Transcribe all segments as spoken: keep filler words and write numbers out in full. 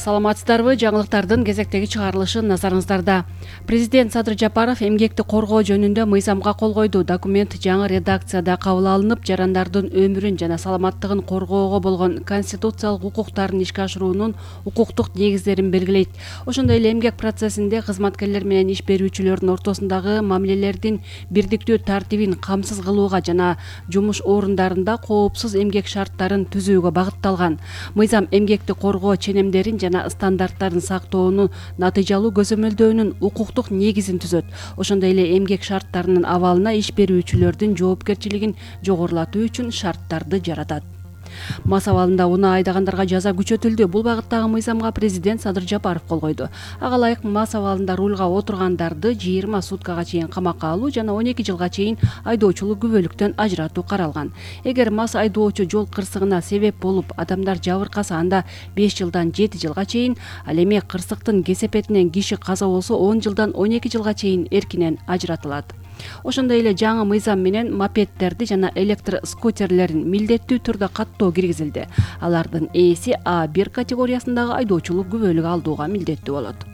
Саламатсыздарбы? Жаңылыктардын кезектеги чыгарылышы назарыңыздарда. Президент Садыр Жапаров эмгекти коргоо жөнүндө мыйзамга кол койду. Документ жаңы редакцияда кабыл алынып, жарандардын өмүрүн жана саламаттыгын коргоого болгон конституциялык укуктарын ишке ашыруунун укуктук негиздерин белгилейт. Ошондой эле эмгек процессинде кызматкерлер менен иш берүүчүлөрдүн ортосундагы мамилелердин бирдиктүү тартибин камсыз кылууга жана жумуш орундарында коопсуз эмгек шарттарын түзүүгө багытталган. Мыйзам эмгекти коргоо ченемдерин жана стандарттарын сактоонун натыйжалуу көзөмөлдөөнүн укуктук негизин түзөт. Ошондой эле эмгек шарттарынын абалына иш берүүчүлөрдүн жоопкерчилигин жогорулатуу үчүн шарттарды жаратат. Мас абалында унаа айдагандарга жаза күчөтүлдү. Бул багыттагы мыйзамга президент Садыр Жапаров кол койду. Ага ылайык мас абалында рулга отургандарды жыйырма суткага чейин камакка алуу жана он эки жылга чейин айдоочулук күбөлүктөн ажыратуу каралган. Эгер мас айдоочу жол кырсыгына себеп болуп, адамдар жабыркаса, анда беш жылдан жети жылга чейин, ал эми кырсыктын кесепетинен киши каза болсо он жылдан он эки жылга чейин эркинен ажыратылат. Ошондой эле жаңы мыйзам менен мопеддерди жана электр скутерлерин милдеттүү түрдө каттоо киргизилди. Алардын ээси А бир категориясындагы айдоочулук күбөлүк алдууга милдеттүү болот.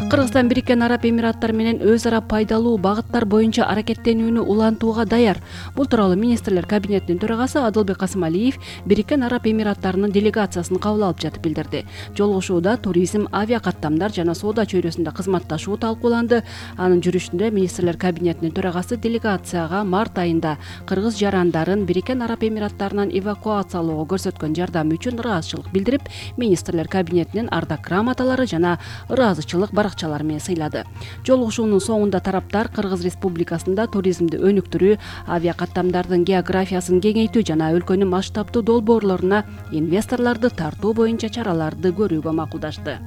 Кыргызстан Бириккен Араб Эмираттары менен өз ара пайдалуу багыттар боюнча аракеттенүүнү улантууга даяр. Бул тууралуу министрлер кабинетинин төрагасы Адылбек Касымалиев Бириккен Араб Эмираттарынын делегациясын кабыл алып жатып билдирди. Жолугушууда туризм, авиакаттамдар жана соода чөйрөсүндө кызматташуу талкууланды. Анын жүрүшүндө министрлер кабинетинин төрагасы делегацияга март айында кыргыз жарандарын Бириккен Араб Эмираттарынан эвакуациялоого көрсөткөн жардамы үчүн ыраазычылык билдирип, министрлер кабинетинин ардак грамоталары жана ыраазычылык баракчалары менен сыйлады. Жолугушуунун соңунда тараптар Кыргыз Республикасында туризмди өнүктүрүү, авиакаттамдардын географиясын кеңейтүү жана өлкөнүн масштабтуу долбоорлоруна инвесторлорду тартуу боюнча чараларды көрүүгө макулдашты.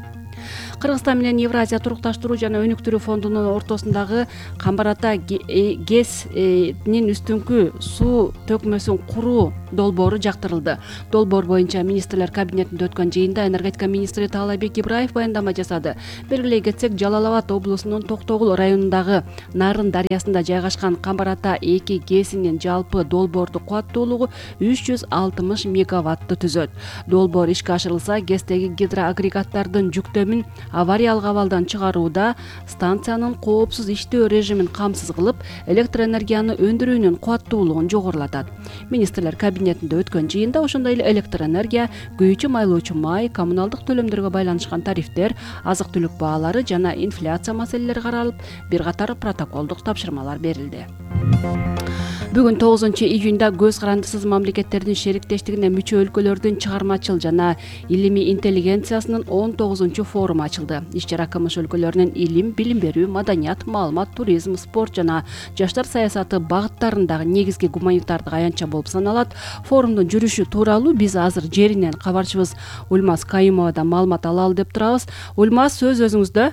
Кыргызстан менен Евразия турукташтыруу жана өнүктүрүү фондунун ортосундагы Камбар-Ата ГЭСнин үстүңкү суу төкмөсүн куруу долбоору жактырылды. Долбоор боюнча министрлер кабинетинде өткөн жыйында энергетика министри Таалайбек Ибраев баяндама жасады. Белгилей кетсек, Жалал Абад облусунун Токтогул районундагы Нарын дарыясында жайгашкан Камбар-Ата эки ГЭСинин жалпы долбоордук кубаттуулугу үч жүз алтымыш мегаватты түзөт. Долбоор ишке ашырылса, ГЭСтеги гидроагрегаттардын жүктөмүн авариялык абалдан чыгарууда, станциянын коопсуз иштөө режимин камсыз кылып, электроэнергияны өндүрүүнүн кубаттуулугун жогорулатат. Министрлер кабинетинде өткөн жыйында ошондой эле электроэнергия, күйүүчү майлоочу май, коммуналдык төлөмдөргө байланышкан тарифтер, азык-түлүк баалары жана инфляция маселелери каралып, бир катар протоколдук тапшырмалар берилди. Бүгүн тогузунчу июнда көз карандысыз мамлекеттердин шериктештигине мүчө өлкөлөрдүн чыгармачыл жана илимий интеллигенциясынын он тогузунчу форуму ачылды. Иш-чара КМШ өлкөлөрүнүн илим, билим берүү, маданият, маалымат, туризм, спорт жана жаштар саясаты багыттарындагы негизги гуманитардык аянтча болуп саналат. Форумдун жүрүшү тууралуу биз азыр жеринен кабарчыбыз Ульмаз Каюмовадан маалымат алалы деп турабыз. Ульмаз, сөз өзүңүздө.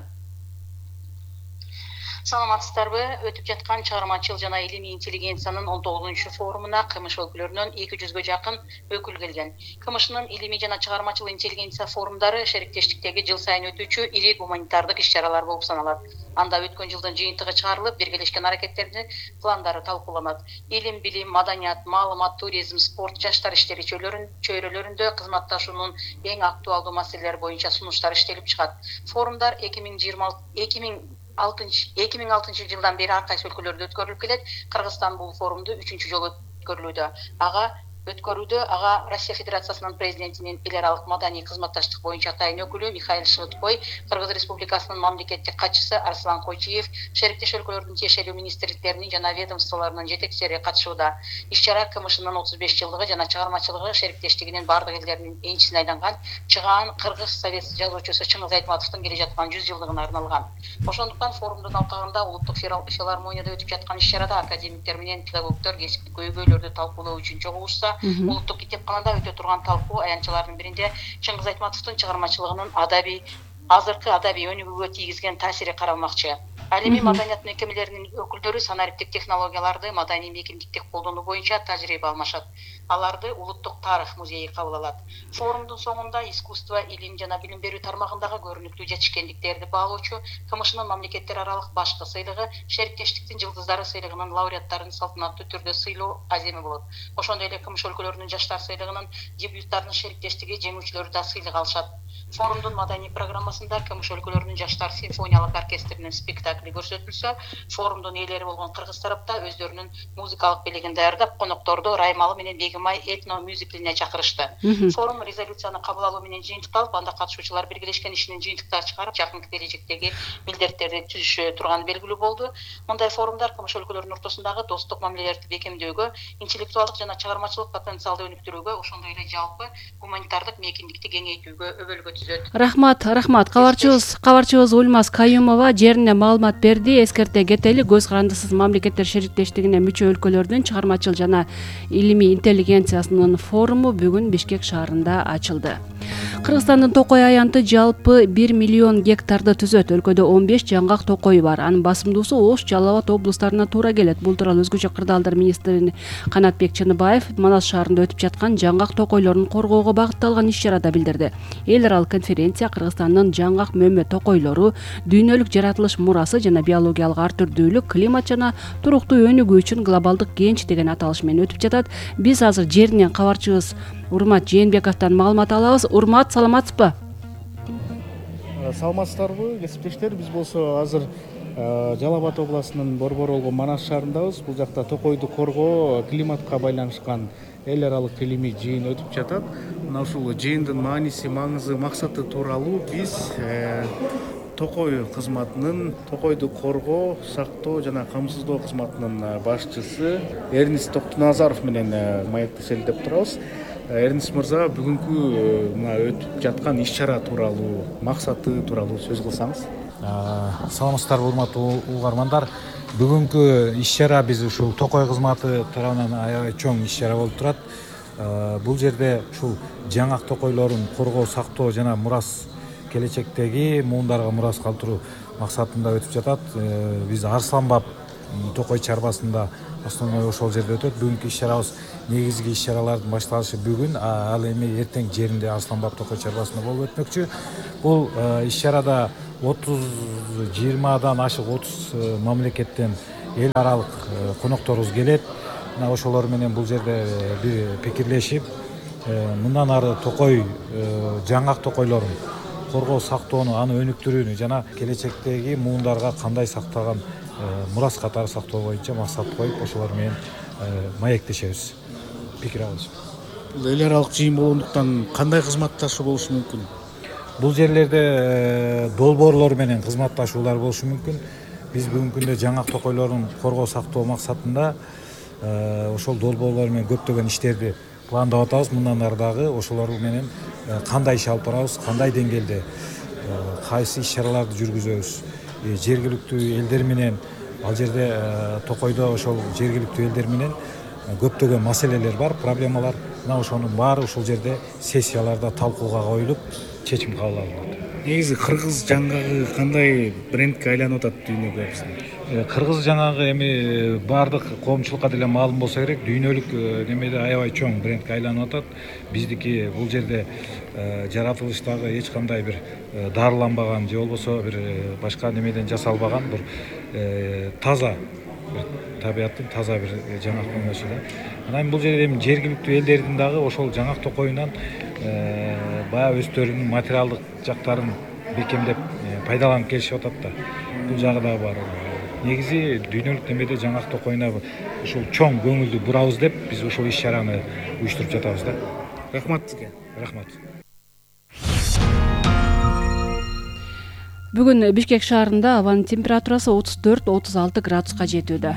Саламатсыздарбы? Өтүп жаткан чыгармачыл жана илимий интеллигенциянын он тогузунчу форумуна КМШ өлкөлөрүнөн эки жүзгө жакын өкүл келген. КМШнын илимий жана чыгармачыл интеллигенция форумдары шериктештиктеги жыл сайын өтүүчү ири гуманитардык иш-чаралар болуп саналат. Анда өткөн жылдын жыйынтыгы чыгарылып, биргелешкен аракеттердин пландары талкууланат. Илим, билим, маданият, маалымат, туризм, спорт, жаштар иштери чөйрөлөрүндө кызматташуунун эң актуалдуу маселелери боюнча сунуштар иштелип чыгат. Форумдар эки миң жыйырма эки миң алтынчы жылдан бери ар кайсы өлкөлөрдө өткөрүлүп келет. Кыргызстан бул форумду үчүнчү жолу өткөрүлүүдө. Ага өткөрүүдө ага Россия Федерациясынын президентинин эл аралык маданий кызматташтык боюнча тайын өкүлү Михаил Шгыткой, Кыргыз Республикасынын мамлекеттик катчысы Арслан Койчиев, шериктеш өлкөлөрдүн тиешелүү министрликтеринин жана ведомстволорунун жетекчилери катышууда. Иш-чара КМШнын отуз беш жылдыгы жана чыгармачылыгы шериктештигинин бардык элдеринин энчисине айланган чыгаан кыргыз совет жазуучусу Чыңгыз Айтматовдун келе жаткан жүз жылдыгына арналган. Ошондуктан форумдун алкагында улуттук филармонияда өтүп жаткан иш-чарада академиктер менен педагогдор кесиптик көйгөйлөрдү талкуулоо үчүн чогулушса, улуттук китепканада өтө турган талкуу аянтчалардын биринде Чыңгыз Айтматовдун чыгармачылыгынын адабий азыркы адабий өнүгүүгө тийгизген таасири каралмакчы. Ал эми маданият мекемелеринин өкүлдөрү санариптик технологияларды маданий мейкиндикти колдонуу боюнча тажрыйба алмашат. Аларды улуттук тарых музейи кабыл алат. Форумдун соңунда искусство, илим жана билим берүү тармагындагы көрүнүктүү жетишкендиктерди баалоочу КМШнын мамлекеттер аралык башкы сыйлыгы шериктештиктин жылдыздары сыйлыгынын лауреаттарын салтанаттуу түрдө сыйлоо аземи болот. Ошондой эле КМШ өлкөлөрүнүн жаштар сыйлыгынын дебюттарын шериктештиги жеңүүчүлөрү да сыйлык алышат. Форумдун маданий программасында Кымыш өлкөлөрүнүн жаштар симфониялык оркестринин спектакли көрсөтүлсө, форумдун ээлери болгон кыргыз тарапта өздөрүнүн музыкалык белегин даярдап, конокторду Раймалы менен Бегимай этно мюзиклине чакырышты. Форум резолюцияны кабыл алуу менен жыйынтыкталып, анда катышуучулар биргелешкен ишинин жыйынтыктарын чыгарып, жакынкы келечектеги милдеттерди түзүшү турганы белгилүү болду. Мындай форумдар Кымыш өлкөлөрүнүн ортосундагы достук мамилелерди бекемдөөгө, интеллектуалдык жана чыгармачылык потенциалды өнүктүрүүгө, ошондой эле жалпы гуманитардык мейкиндикти кеңейтүүгө өбөлгө түзөт. Рахмат, рахмат. Кабарчыбыз, кабарчыбыз Ульмаз Каюмова жерине маалымат берди. Эскерте кетели, көз карандысыз мамлекеттер шериктештигине мүчө өлкөлөрдүн чыгармачыл жана илимий интеллигенциясынын форуму бүгүн Бишкек шаарында ачылды. Кыргызстандын токой аянты жалпы бир миллион гектарды түзөт. Өлкөдө он беш жаңгак токой бар. Анын басымдуусу Ош, Жалал Абад облустарына туура келет. Бул тууралуу өзгөчө кырдаалдар министри Канатбек Чыныбаев Манас шаарында өтүп жаткан жаңгак токойлорун коргоого багытталган иш-чарада билдирди. Эл аралык конференция Кыргызстандын жаңгак мөмө токойлору, дүйнөлүк жаратылыш мурасы жана биологиялык ар түрдүүлүк, климат жана туруктуу өнүгүү үчүн глобалдык кенч деген аталыш менен өтүп жатат. Биз азыр жеринен кабарчыбыз Урмат Жээнбековдон маалымат алабыз. Урмат, саламатсызбы? Саламатсыздарбы, кесиптештер? Биз болсо азыр Жалал Абад областынын борбору болгон Манас шаарындабыз. Бул жакта токойду коргоо, климатка байланышкан эл аралык илимий жыйын өтүп жатат. Мына ушул жыйындын мааниси, маңызы, максаты тууралуу биз токой кызматынын, токойду коргоо, сактоо жана камсыздоо кызматынын башчысы Эрнис Токтуназаров менен маектешели деп турабыз. Эрнис мырза, бүгүнкү мына өтүп жаткан иш-чара тууралуу, максаты тууралуу сөз кылсаңыз. Саламатсыздарбы, урматтуу угармандар. Бүгүнкү иш-чара биз ушул токой кызматы тарабынан аябай чоң иш-чара болуп турат. Бул жерде ушул жаңгак токойлорун коргоо, сактоо жана мурас, келечектеги муундарга мурас калтыруу максатында өтүп жатат. Биз Арсланбаб токой чарбасында основной ошол жерде өтөт. Бүгүнкү иш-чарабыз негизги иш-чаралардын башталышы бүгүн, ал эми эртең жеринде Арсланбаб токой чарбасында болуп өтмөкчү. Бул иш-чарада отуз жыйырмадан ашык отуз мамлекеттен эл аралык конокторубуз келет. Мына ошолор менен бул жерде бир пикирлешип, мындан ары токой, жаңгак токойлорун коргоо, сактоону, аны өнүктүрүүнү жана келечектеги муундарга кандай сактаган мурас катары сактоо боюнча максат коюп, ошолор менен маектешебиз, пикир алабыз. Бул эл аралык жыйын болгондуктан кандай кызматташуу болушу мүмкүн? Бул жерлерде долбоорлор менен кызматташуулар болушу мүмкүн. Биз бүгүнкү күндө жаңгак токойлорун коргоо, сактоо максатында ошол долбоорлор менен көптөгөн иштерди пландап атабыз. Мындан ары дагы ошолор менен кандай иш алып барабыз, кандай деңгээлде кайсы иш-чараларды жүргүзөбүз. Жергиликтүү элдер менен, ал жерде токойдо ошол жергиликтүү элдер менен көптөгөн маселелер бар, проблемалар. Мына ошонун баары ушул жерде сессияларда талкууга коюлуп, чечим кабыл алынат. Негизи кыргыз жаңгагы кандай брендке айланып атат дүйнөгө биздин? Кыргыз жаңгагы эми баардык коомчулукка деле маалым болсо керек, дүйнөлүк немеде аябай чоң брендке айланып атат. Биздики бул жерде жаратылыштагы эч кандай бир дарыланбаган же болбосо бир башка немеден жасалбаган бир таза табияттын таза бир жаңгак мөмөсү да. Анан бул жерде эми жергиликтүү элдердин дагы ошол жаңгак токоюнан баягы өздөрүнүн материалдык жактарын бекемдеп пайдаланып келишип атат да. Бул жагы дагы бар. Негизи дүйнөлүк немеде жаңгак токоюна ушул чоң көңүлдү бурабыз деп биз ушул иш-чараны уюштуруп жатабыз да. Рахмат сизге. Рахмат. Бүгүн Бишкек шаарында абанын температурасы отуз төрт отуз алты градуска жетүүдө.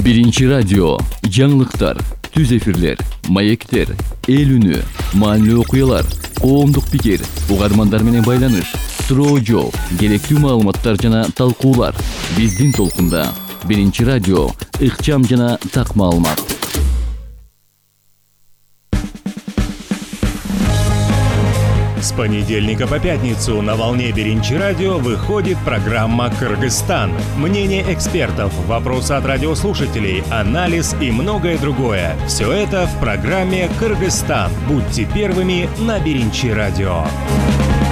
Биринчи радио, жаңылыктар, түз эфирлер, маектер, эл үнү, маанилүү окуялар, коомдук пикир, угармандар менен байланыш, суроо жооп, керектүү маалыматтар жана талкуулар. Биздин толкунда. Биринчи радио, ыкчам жана так маалымат. С понедельника по пятницу на волне Биринчи радио выходит программа «Кыргызстан». Мнение экспертов, вопросы от радиослушателей, анализ и многое другое. Все это в программе «Кыргызстан». Будьте первыми на Биринчи радио.